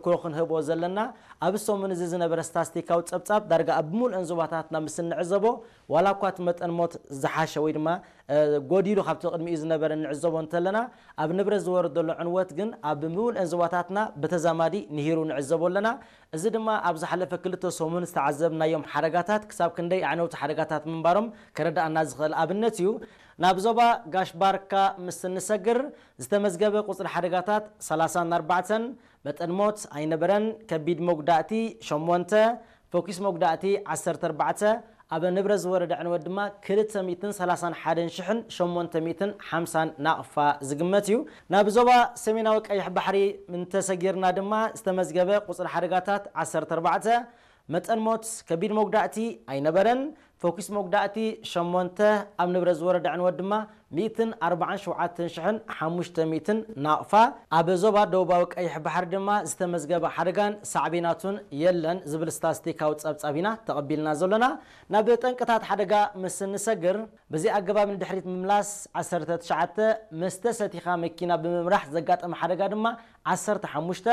ክሮ ክንህቦ ዘለና፣ ኣብ ሰሙን እዚ ዝነበረ ስታስቲካዊ ጸብጻብ ዳርጋ ኣብ ምሉእን ዞባታትና ምስ እንዕዘቦ፣ ዋላ እኳ እቲ መጠን ሞት ዝሓሸ ወይ ድማ ጎዲሉ ካብቲ ቅድሚኡ ዝነበረ እንዕዘቦ እንተለና፣ ኣብ ንብረት ዝወረደሉ ዕንወት ግን ኣብ ምሉእን ዞባታትና ብተዛማዲ ንሂሩ ንዕዘቦ ኣለና። እዚ ድማ ኣብ ዝሓለፈ ክልተ ሰሙን ዝተዓዘብናዮም ሓደጋታት ክሳብ ክንደይ ኣዕነውቲ ሓደጋታት ምንባሮም ከረዳኣና ዝኽእል ኣብነት እዩ። ናብ ዞባ ጋሽ ባርካ ምስ እንሰግር ዝተመዝገበ ቁጽሪ ሓደጋታት ሰላሳን ኣርባዕተን፣ መጠን ሞት ኣይነበረን። ከቢድ መጉዳእቲ ሸሞንተ፣ ፈኲስ መጉዳእቲ ዓሰርተ ኣርባዕተ፣ ኣብ ንብረት ዝወረደ ዕንወት ድማ ክልተ ሚእትን ሰላሳን ሓደን ሽሕን ሸሞንተ ሚእትን ሓምሳን ናቕፋ ዝግመት እዩ። ናብ ዞባ ሰሜናዊ ቀይሕ ባሕሪ እንተሰጊርና ድማ ዝተመዝገበ ቁጽሪ ሓደጋታት ዓሰርተ ኣርባዕተ፣ መጠን ሞት ከቢድ መጉዳእቲ ኣይነበረን። ፈኲስ መጉዳእቲ ሸሞንተ፣ ኣብ ንብረት ዝወረደ ዕንወት ድማ ሚእትን ኣርባዓን ሸውዓተን ሽሕን ሓሙሽተ ሚእትን ናቕፋ። ኣብ ዞባ ደቡባዊ ቀይሕ ባሕሪ ድማ ዝተመዝገበ ሓደጋን ሳዕቤናቱን የለን ዝብል ስታስቲካዊ ጸብጻብ ኢና ተቐቢልና ዘሎና። ናብ ጠንቅታት ሓደጋ ምስ እንሰግር፣ በዚ ኣገባብ ንድሕሪት ምምላስ ዓሰርተ ትሽዓተ፣ መስተ ሰቲኻ መኪና ብምምራሕ ዘጋጠመ ሓደጋ ድማ ዓሰርተ ሓሙሽተ፣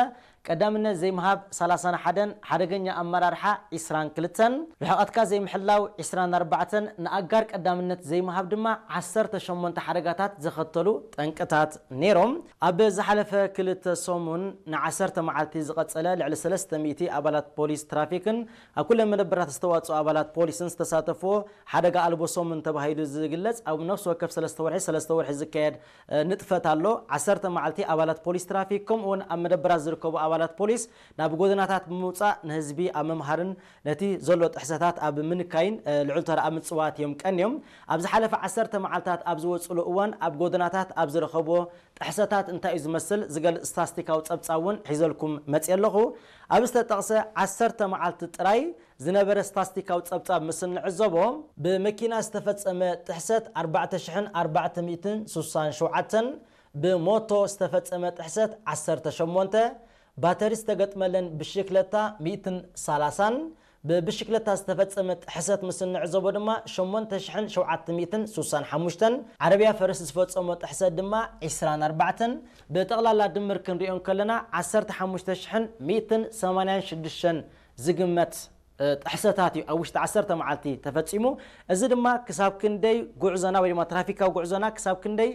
ቀዳምነት ዘይምሃብ ሰላሳን ሓደን፣ ሓደገኛ ኣመራርሓ ዒስራን ክልተን፣ ርሕቐትካ ዘይምሕላው ዒስራን ኣርባዕተን፣ ንኣጋር ቀዳምነት ዘይምሃብ ድማ ዓሰርተ ሸሞንተ ሓደጋታት ዘኸተሉ ጠንቅታት ነይሮም። ኣብ ዝሓለፈ ክልተ ሰሙን ንዓሰርተ መዓልቲ ዝቐጸለ ልዕሊ ሰለስተ ሚእቲ ኣባላት ፖሊስ ትራፊክን ኣብ ኩለን መደበራት ዝተዋጽኡ ኣባላት ፖሊስን ዝተሳተፍዎ ሓደጋ ኣልቦ ሰሙን ተባሂሉ ዝግለጽ ኣብ ነፍሲ ወከፍ ሰለስተ ወርሒ፣ ሰለስተ ወርሒ ዝካየድ እ፣ ንጥፈት ኣሎ። ዓሰርተ መዓልቲ ኣባላት ፖሊስ ትራፊክ ከምኡ እውን ኣብ መደበራት ዝርከቡ ኣባላት ፖሊስ ናብ ጎደናታት ብምውጻእ ንህዝቢ ኣብ ምምሃርን ነቲ ዘሎ ጥሕሰታት ኣብ ምንካይን እ፣ ልዑል ተራ ኣብ ምጽዋት እዮም ቀንዮም። ኣብ ዝሓለፈ ዓሰርተ መዓልታት ኣብ ዝወጽሉ እዋን ኣብ ጎደናታት ኣብ ዝረኸብዎ ጥሕሰታት እንታይ እዩ ዝመስል ዝገልጽ ስታስቲካዊ ጸብጻብ እውን ሒዘልኩም መጽየ ኣለኹ። ኣብ ዝተጠቕሰ ዓሰርተ መዓልቲ ጥራይ ዝነበረ ስታስቲካዊ ጸብጻብ ምስ እንዕዘቦ፣ ብመኪና ዝተፈጸመ ጥሕሰት ኣርባዕተ ሽሕን ኣርባዕተ ሚእትን ስሳን ሸውዓተን፣ ብሞቶ ዝተፈጸመ ጥሕሰት ዓሰርተ ሸሞንተ፣ ባተሪ ዝተገጥመለን ብሽክለታ ሚእትን ሰላሳን፣ ብብሽክለታ ዝተፈጸመ ጥሕሰት ምስ እንዕዘቦ ድማ ሸሞንተ ሽሕን ሸውዓተ ሚእትን ስሳን ሓሙሽተን፣ ዓረብያ ፈረስ ዝፈጸሞ ጥሕሰት ድማ ዒስራን ኣርባዕተን፣ ብጠቕላላ ድምር ክንሪኦ እንከለና ዓሰርተ ሓሙሽተ ሽሕን ሚእትን ሰማንያን ሽዱሽተን ዝግመት እ፣ ጥሕሰታት እዩ ኣብ ውሽጢ ዓሰርተ መዓልቲ ተፈጺሙ። እዚ ድማ ክሳብ ክንደይ ጉዕዞና ወይ ድማ ትራፊካዊ ጉዕዞና ክሳብ ክንደይ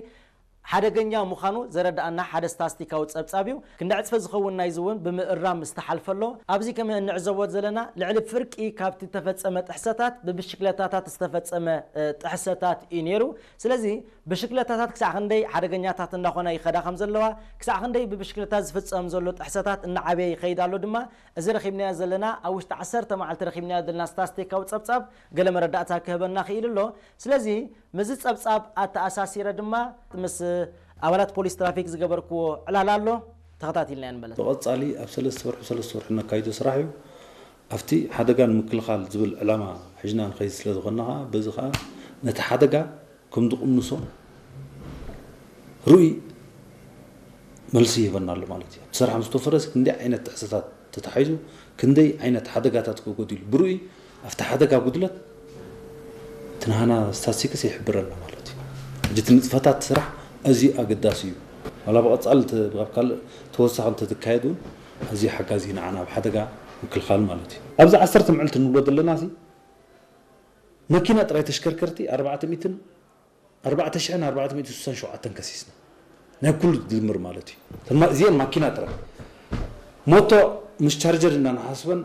ሓደገኛ ምዃኑ ዘረድኣና ሓደ ስታስቲካዊ ጸብጻብ እዩ። ክንዲ ዕጽፈ ዝኸውን ናይዚ እውን ብምእራም ዝተሓልፈ ኣሎ። ኣብዚ ከም እንዕዘቦ ዘለና ልዕሊ ፍርቂ ካብቲ ተፈጸመ ጥሕሰታት ብብሽክለታታት ዝተፈጸመ እ፣ ጥሕሰታት እዩ ነይሩ። ስለዚ ብሽክለታታት ክሳዕ ክንደይ ሓደገኛታት እናኾና ይኸዳ ከም ዘለዋ፣ ክሳዕ ክንደይ ብብሽክለታ ዝፍጸም ዘሎ ጥሕሰታት እናዓበየ ይኸይድ ኣሎ ድማ እዚ ረኺብናዮ ዘለና ኣብ ውሽጢ ዓሰርተ መዓልቲ ረኺብናዮ ዘለና ስታስቲካዊ ጸብጻብ ገለ መረዳእታ ክህበና ክኢሉ ኣሎ። ስለዚ ምስዚ ጸብጻብ ኣተኣሳሲረ ድማ ምስ ኣባላት ፖሊስ ትራፊክ ዝገበርክዎ ዕላል ኣሎ፣ ተኸታቲልና ንመለስ። ብቐጻሊ ኣብ ሰለስተ ወርሒ ሰለስተ ወርሒ ነካይዶ ስራሕ እዩ። ኣብቲ ሓደጋ ንምክልኻል ዝብል ዕላማ ሒዝና ንኸይድ ስለ ዝኾንና ኸዓ በዚ ኸዓ ነቲ ሓደጋ ከም ዝቕንሶ ርኡይ መልሲ ይህበና ኣሎ ማለት እዩ። እቲ ስራሕ ምስ ተወፈረስ ክንደይ ዓይነት ጥሕሰታት ተታሒዙ፣ ክንደይ ዓይነት ሓደጋታት ከጎዲሉ ብርኡይ ኣብቲ ሓደጋ ጉድለት እቲ ናህና ስታስቲክስ ይሕብረና ማለት እዩ። ሕጂ እቲ ንጥፈታት ስራሕ ኣዝዩ ኣገዳሲ እዩ። ዋላ ብቐጻሊ እንተ-፣ ካብ ካልእ ተወሳኺ እንተዝካየድ እውን ኣዝዩ ሓጋዚ እዩ ንዓና ኣብ ሓደጋ ምክልኻል ማለት እዩ። ኣብዚ ዓሰርተ መዕልቲ ንብሎ ዘለና እዚ መኪና ጥራይ ተሽከርከርቲ ኣርባዕተ ሚእትን ኣርባዕተ ሽሕን ኣርባዕተ ሚእትን ስሳን ሸውዓተን ከሲስና። ናይ ኩሉ ድምር ማለት እዩ። እተን ማ-፣ እዚአን ማኪና ጥራይ። ሞቶ ምስ ቻርጀር እና ንሓስበን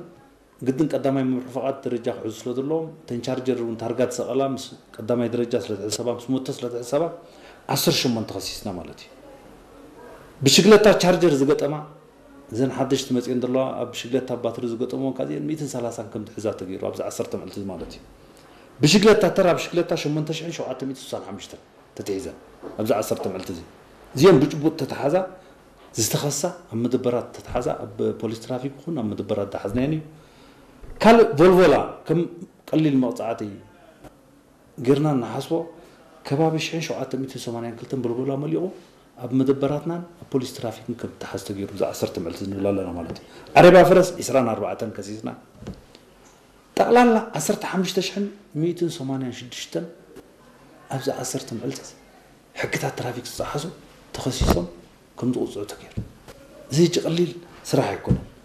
ግድን ቀዳማይ መምርሒ ፍቓድ ደረጃ ክሕዙ ስለ ዘለዎም፣ እተን ቻርጀር እውን ታርጋ ዝሰቐላ ምስ ቀዳማይ ደረጃ ስለ ትሕሰባ፣ ምስ ሞቶ ስለ ትሕሰባ፣ ዓሰርተ ሸሞንተ ከሲስና ማለት እዩ። ብሽግለታ ቻርጀር ዝገጠማ፣ እዘን ሓደሽቲ መፅየን ዘለዋ ኣብ ብሽግለታ ባትሪ ዝገጠምዎ፣ ካብዚአን ሚእትን ሰላሳን ከም ትሕዛ ተገይሩ፣ ኣብዚ ዓሰርተ መዕልቲ ማለት እዩ። ብሽግለታ፣ ተራ ብሽግለታ ሸሞንተ ሽሕን ሸውዓተ ሚእትን ስሳን ሓሙሽተን ተትሒዘን፣ ኣብዚ ዓሰርተ መዕልቲ እዚ። እዚአን ብጭቡጥ ተተሓዛ፣ ዝተኸሳ፣ ኣብ መደበራት ተተሓዛ፣ ኣብ ፖሊስ ትራፊክ ይኹን ኣብ መደበራት ዝሓዝናየን እዩ። ካልእ ቮልቮላ ከም ቀሊል መቕጻዕቲ ጌርና እናሓስቦ፣ ከባቢ ሽሕን ሸውዓተ ሚእትን ሰማንያን ክልተን ቮልቮላ መሊቑ፣ ኣብ መደበራትናን ኣብ ፖሊስ ትራፊክን ከም ተሓዝ ተገይሩ፣ እዚ ዓሰርተ መዕልቲ ንብል ኣለና ማለት እዩ። ዓረብያ ፈረስ ዒስራን ኣርባዕተን ከሲስና፣ ጠቕላላ ዓሰርተ ሓሙሽተ ሽሕን ሚእትን ሰማንያን ሽዱሽተን ኣብዚ ዓሰርተ መዕልቲ እዚ ሕግታት ትራፊክ ዝጠሓሱ ተኸሲሶም ከም ዝቕፅዑ ተገይሩ። እዚ ሕጂ ቀሊል ስራሕ ኣይኮነን።